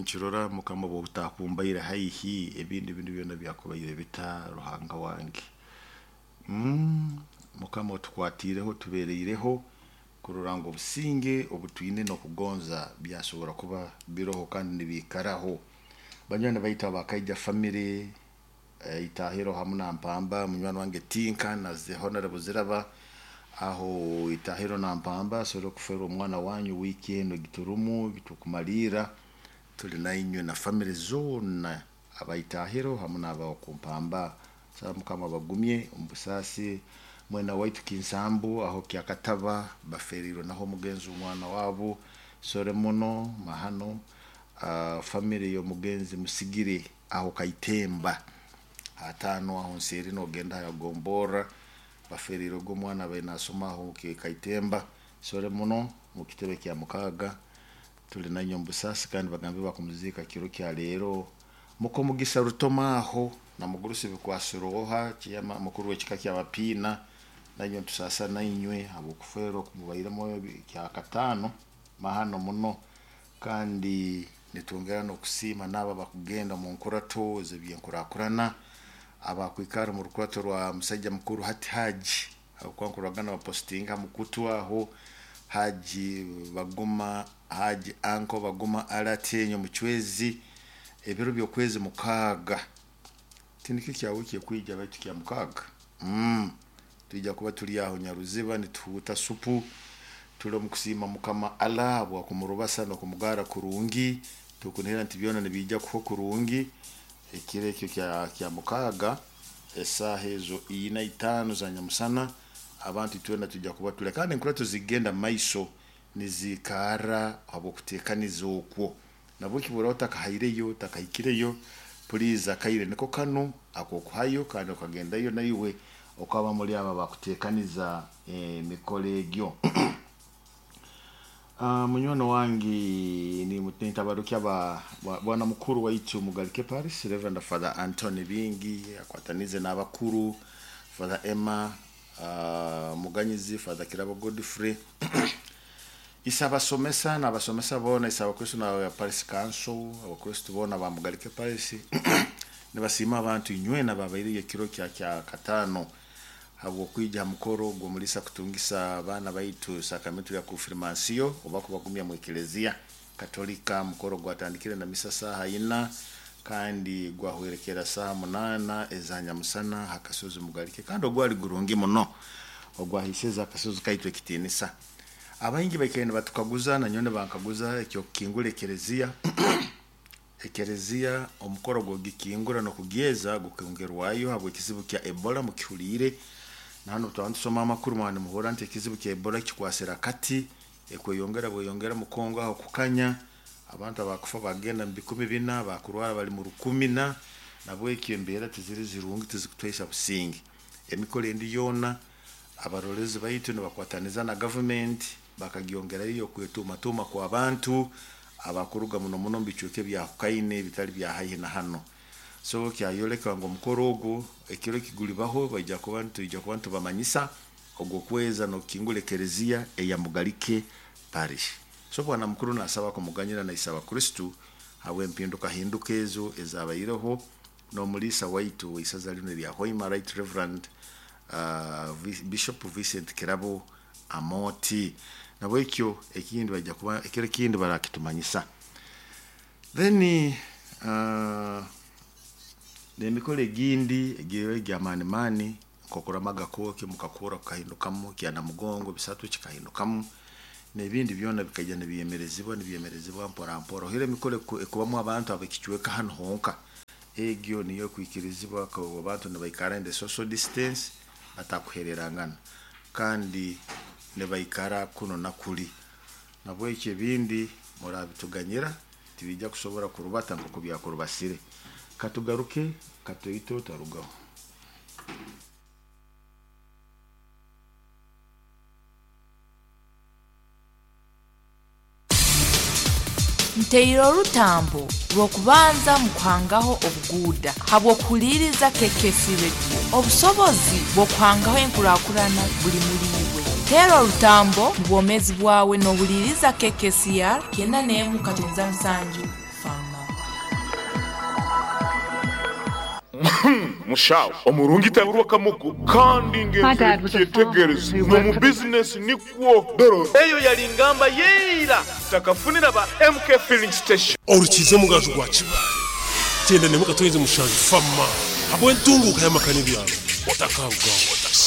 Ninkirora Mukama obutakumbaire haihi, ebindi bintu byona byakubaire bita Ruhanga wange. Mukama otukwatiireho, otubeereireho kurora ngu obusinge obu twine n'okugonza byasobora kuba biroho kandi nibiikaraho. Banywani baitu aba Kaija family, Itahiro hamu na Mpamba, munywani wange Tinka na Honorable Ziraba, aho Itahiro na Mpamba asobora kufeerwa omwana wanyu wiiki enu egiturumu egitukumaliira, tuli nainywe na family zoona aba Itahiro hamu n'abaku Mpamba. Nsaba Mukama abagumye omu busaasi. Mwena waitu Kinsambu aho Kyakataba baferiirwe naho omugenzi omwana wabu sore muno mahano. Family y'omugenzi Musigire aho Kaitemba hatano aho nseeri nogenda ha Gomborra baferiirwe omwana abaire nasoma aho Kaitemba sore muno mu kitebe kya mukaaga. Tuli nainywe omu busaasi kandi bagambe bakumuziika kiro kya leero. Mukomugisa Rutoma aho na mugurusi Bikwasiroha chairman mukuru w'ekika ky'Abapiina, nainywe nitusaasa nainywe habw'okufeerwa okumubairemu kyakataano mahano muno, kandi nitwongera n'okusiima n'abo abakugenda omu nkurato ez'ebyenkurakurana, abakwikara omu rukurato rwa musaija mukuru hati Haji, habwokuba nkuroraga nibapositinga ha mukutu aho, Haji Baguma, Haji Uncle Baguma Alati Omucwezi, ebiro by'okwezi mukaaga, tinikyo kya wiiki ekwija baitu kya mukaaga. Twija kuba turi aho Nyaruziba nituhuuta supu, tuli omu kusiima Mukama Allah habw'okumurubasa n'okumugara kurungi, tukunihira nti byona nibiija kuhwa kurungi, ekiro ekyo kya mukaaga esaaha ezo ina itaano za nyamusana, abantu itwena twija kuba tuli kandi enkurato zigenda mumaiso niziikarra habw'okuteekaniza okwo. Nabweki bw'oraaba otakahaireyo, otakahikireyo, puliizi akaire niko kanu ak'okuhayo kandi okagendayo naiwe okaba muli abo abakuteekaniza emikoro egyo. Munywani wange nintabarukya bwana mukuru waitu Mugalike Paris, Reverend Father Anthony Bingi akwatanize n'abakuru, Father Emma Muganyizi, Father Kirabo Godfrey, ise abasomesa n'abasomesa boona, ise abakristo na Paris Council, abakristo boona ba Mugalike Paris nibasiima abantu inywena ababaireyo ekiro kya kyakataano habw'okwija ha mukoro gw'omulisa kutungisa abaana baitu sakramentu ya konfirmansiyo oba kubagumya mu Eklezia Katolika. Mukoro gwatandikire na misa saaha ina kandi gwahwerekera saaha munaana eza nyamusana ha kasozi Mugalike, kandi ogwali gurungi muno ogwahaiseze akasozi kaitu ekitiinisa. Abaingi baikaire nibatukaguza nanyowe nibankaguza eky'okukingura Eklezia. Eklezia omukoro gw'okugikingura n'okugyeza gukongerwayo habw'ekizibu kya Ebola mukihuliire. Na hanu twaba nitusoma amakuru mwaba nimuhurra nti ekizibu kya Ebola kikwasire akati, ekweyongera bweyongera mu Congo aho kukanya, abantu abakufa bagenda mu bikumi bina, abakurwara bali mu rukumi na, nabwekyo embeera tiziri zirungi tizikutuhaisa businge. Emikoro endi yoona abarorezi baitu nibakwataniza na gavumenti bakagyongerayo okwetuumatuuma kw'abantu abakuruga muno muno omu bicweka ebyahukaine ebitali bya haihi na hanu. So kyayoleka ngu omukoro ogu ekiro ekigulibaho baija kuba nitwija kuba nitubamanyisa ogw'okweza n'okukingura Eklezia eya Mugalike Parish. So bwana mukuru nasaba kumuganyira naisa abakristo habw'empindukahinduka ezo ezabaireho n'omuliisa waitu w'isaza linu erya Hoima Right Reverend Bishop Vincent Kirabo Amooti. Nabwekyo ekindi baija kuba ekiro ekindi barakitumanyisa. Then n'emikoro egindi egy'amaani maani nk'okuramaga kwoki mukakura kukahindukamu, kyanamugongo bisatu kikahindukamu, n'ebindi byona bikaija nibyemerezibwa nibyemerezibwa mpora mpora. Ohaire emikoro ekubamu abantu ab'ekicweka hanu honka, egyo niyo ekwikirizibwa abantu nibaikara in the social distance batakuhererangana kandi nibaikara kunu na kuli. Nabwekyo ebindi murabituganyira tibiija kusobora kurubata nk'oku byakurubasire. Katugaruke katoito otarugaho. Nteire orutambo rw'okubanza mu kuhangaho obuguuda habw'okuhuliiriza KKC Radio. Obusobozi bw'okuhangaho enkurakurana buli muli iwe. Teera orutambo mu bwomeezi bwawe n'ohuliiriza KKCR 91.7 Fama. Mushawo omurungi taburwa kamogo kandi My dad was a farmer ngenzekyetegereze who n'omu worked for the bizinesi nikwo doro eyo yali ngamba yeira takafunira ba MK filling station. Orukize omugaju gwa Kibaale, kyenda nemwe katonyeze mushanju fama habw'entunguka y'amaka n'ebyaro otakarugaho.